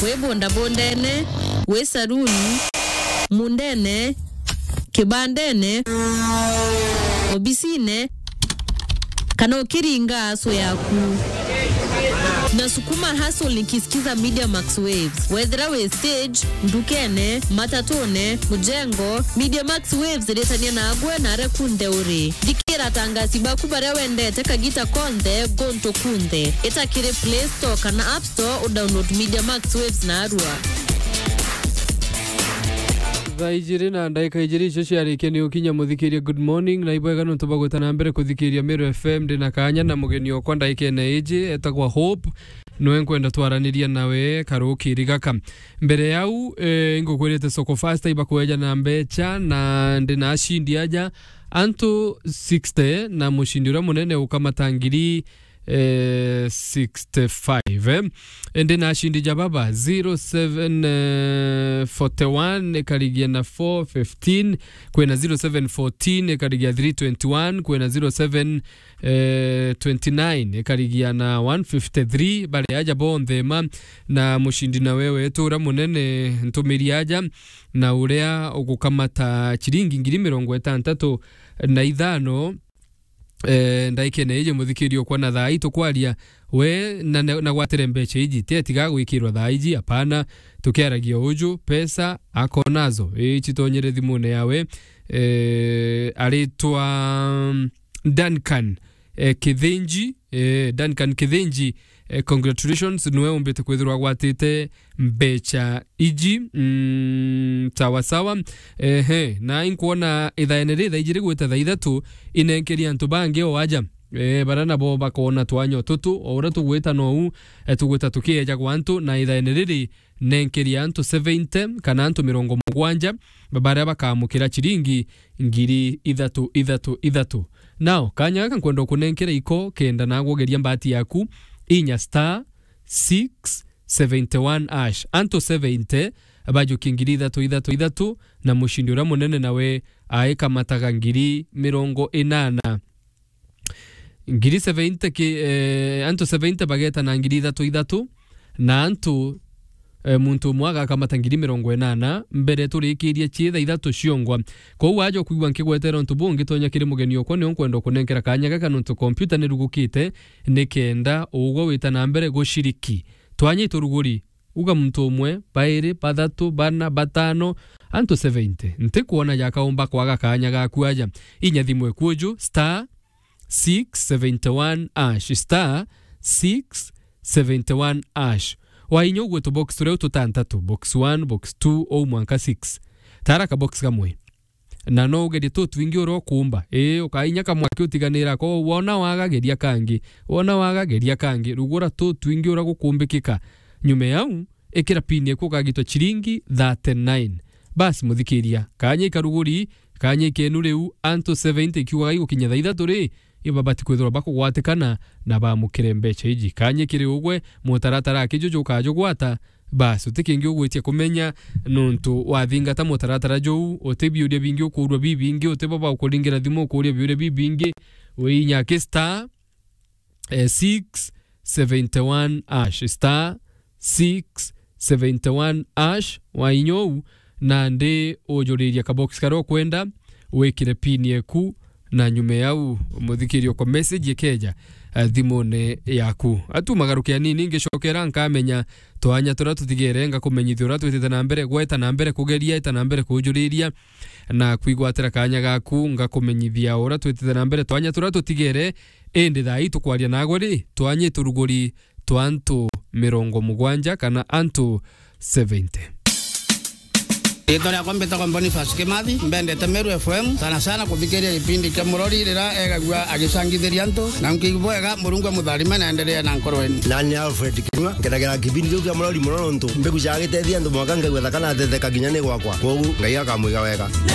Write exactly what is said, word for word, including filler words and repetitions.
Wi bondabondene, wi saruni, mundene, kibandene, obisine, kana ukiringa aso yaku. Nasukuma hustle nikisikiza Media Max Waves. Wethira wi stage, ndukene, matatune, mujengo, Media Max Waves iritania nagwe na aria kunthe uri. Thikira atangasi baku baria wendete kagita konthe, gontu kunthe. Ita kiri Play Store kana App Store udownload Media Max Waves narua. Thaa ijiri na ndagika ijiri icio ciarikia ni ukinya muthikiria. Good morning, na ibwega nontu bwa gwita na mbere kuthikiria Meru F M. Ndi na kanya na mugeni okwa ndagikene iji, etagwa Hope. Niwe nkwenda twaraniria nawe karukiri gaka. Mbere yau, eh, ingukwirite Soko Fasta ibakweja na mbecha, na ndi na ashindi aja antu sixty, na mushindi uria munene ukamata ngiri, eh, sixty-five, eh. Indi na ashindi ja baba, zero seven, eh, forty-one ikarigia na four fifteen, kwina zero seven fourteen ikarigia three twenty-one, kwina zero seven, eh, twenty-nine ikarigia na one fifty-three. Bari aja bonthe ma, na mushindi nawe wetu uria munene ntumiri aja, na uria ugukamata ciringi ngiri mirongo itantatu na ithano. Eh, ndaikene iji muthikiri okwa na thaa ii tukwaria, we na, na, na gwatire mbecha iji, ti atiga gwikirwa thaa iji, apana, tukiaragia uju, pesa akonazo, ii, citonyere thimune yawe. Eh, aritwa, mm, Duncan, eh, Kithinji, eh, Duncan Kithinji, eh, congratulations, niwe umbite kwithirwa agwatite mbecha iji. Mm, sawa sawa. Ehe, na inkwona ithaene ri thaa ijiri gwita thaa ithatu, inenkeria antu bangi o aja. Eh, bara nabo bakona twanya tutu, o uria tugwita nou, eh, tugwita tukieja gwa antu, na ithaene riri nenkeria antu seventy kana antu mirongo mugwanja, baria bakamukira ciringi ngiri ithatu, ithatu, ithatu. Now, kanya gaka nkwenda kunenkera iko kenda nagwogeria mbati yaku, inya star six seventy one hash. Antu seventy bajukie ngiri ithatu, ithatu, ithatu, na mushindi uria munene nawe aikamataga ngiri mirongo inana. Ngiri seventy ki, eh, antu seventy bageta na ngiri ithatu ithatu, na antu, eh, muntu umwe agakamata ngiri mirongo inana mbere turikirie ciitha ithatu ciongwa. Kou waja kwigua nkigwetera untu buu, ngitonya kiri mugeni okwa, nio nkwenda kunenkera kanya gaka nontu kompyuta nirugukite, nikenda ugwe wita na mbere guciriki. Twanya ituruguri, uga muntu umwe, bairi, bathatu, bana, batano, antu seventy. Ntikwona jakaumba kwaga kanya gaku aja. Inya thimu ekuju, star six seventy one hash, star six seventy one hash. Wainya ugwe tubox turia tutantatu, box one, box two, ou mwanka six. Tara kabox kamwe. Na no ugerie tutwingi uria ukuumba. Ii, ukainya kamwe aki utiganira ko, wona waga geria kangi. Wona waga geria kangi. Rugura tutwingi uria gukumbikika. Nyuma yau, ikira pin eku ukagitwa ciringi thirty nine. Basi muthikiria, kanya ikaruguri, kanya ikenu riu, antu seventy ikiugaga igukinya thaa ithatu ri, ibabati kwithirwa bakugwatikana na bamukire mbecha iji. Kanya ikiri ugwe, mutaratara aki juju ukajugwata, basi uti kingi ugwitia kumenya nontu wathingata mutaratara juu, uti biuria bingi ukuurua bibingi, uti baba ukuringira thimu ukuuria biuria bibingi, wiinya ki star eh, six seventy one hash, star six seventy one hash, wainya uu, nandi ujuriria kabox karia ukwenda, wikire pin eku, na nyuma yau, muthikiria okwa message ikeja, eh, thimune yaku. Atu magaruke anini, ngicokera nkamenya twanya turia tutigere, ngakumenyithia uria twitite na mbere, gweta na mbere kugeria, eta na mbere kujuriria, na kwigwatira kanya gaku, ngakumenyithia uria twitite na mbere twanya turia tutigere, indi thaa ii tukwaria nagwe ri, twanya ituruguri twa antu mirongo mugwanja kana antu seventy. Riitwa riakwa mbitagwa Boniface Kimathi, mbendete Meru F M, sana sana kuthikiria gipindi kia Murori riria egagua agicangithiria antu, na nkiigua bwega, Murungu amutharime na endelee na nkoro yenu. Nani Alfred Kinyua, nkenagira kipindi kiu kia Murori muno nontu mbigucaga gitethia antu mwanka ngaigua thaka na thetheka kinya ni gwakwa. Kwogu Ngai akamwiga wega.